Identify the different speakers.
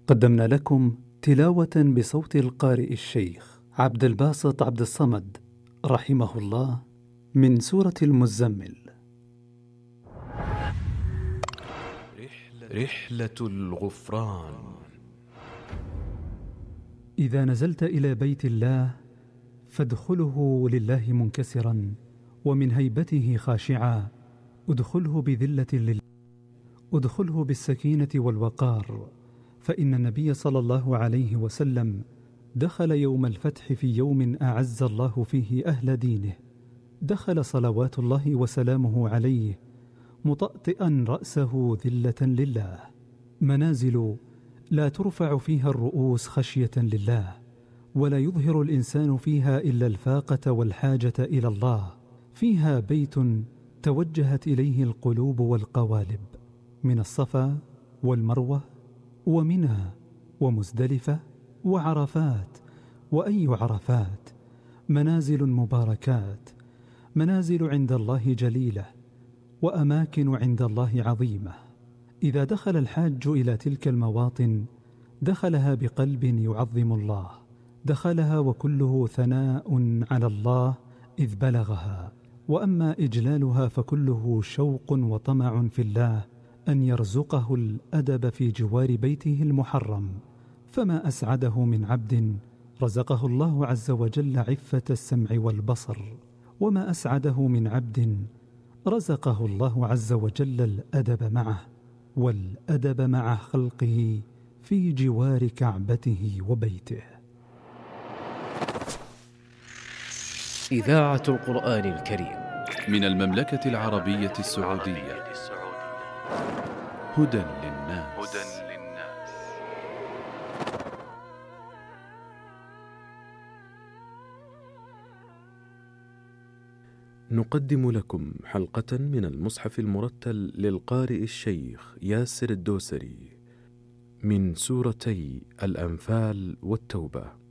Speaker 1: قدمنا لكم تلاوة بصوت القارئ الشيخ عبد الباسط عبد الصمد رحمه الله من سورة المزمل.
Speaker 2: رحلة الغفران.
Speaker 1: إذا نزلت إلى بيت الله فادخله لله منكسرا ومن هيبته خاشعا، ادخله بذلة لله، ادخله بالسكينة والوقار، فإن النبي صلى الله عليه وسلم دخل يوم الفتح في يوم أعز الله فيه أهل دينه، دخل صلوات الله وسلامه عليه مطأطئا رأسه ذلة لله. منازل لا ترفع فيها الرؤوس خشية لله، ولا يظهر الإنسان فيها إلا الفاقة والحاجة إلى الله. فيها بيت توجهت إليه القلوب والقوالب، من الصفا والمروة ومنى ومزدلفة وعرفات وأي عرفات، منازل مباركات، منازل عند الله جليلة، وأماكن عند الله عظيمة. إذا دخل الحاج إلى تلك المواطن دخلها بقلب يعظم الله، دخلها وكله ثناء على الله إذ بلغها، وأما إجلالها فكله شوق وطمع في الله أن يرزقه الأدب في جوار بيته المحرم. فما أسعده من عبد رزقه الله عز وجل عفة السمع والبصر، وما أسعده من عبد رزقه الله عز وجل الأدب معه والأدب مع خلقه في جوار كعبته وبيته.
Speaker 3: إذاعة القرآن الكريم
Speaker 2: من المملكة العربية السعودية. هدى للناس. نقدم لكم حلقة من المصحف المرتل للقارئ الشيخ ياسر الدوسري من سورتي الأنفال والتوبة.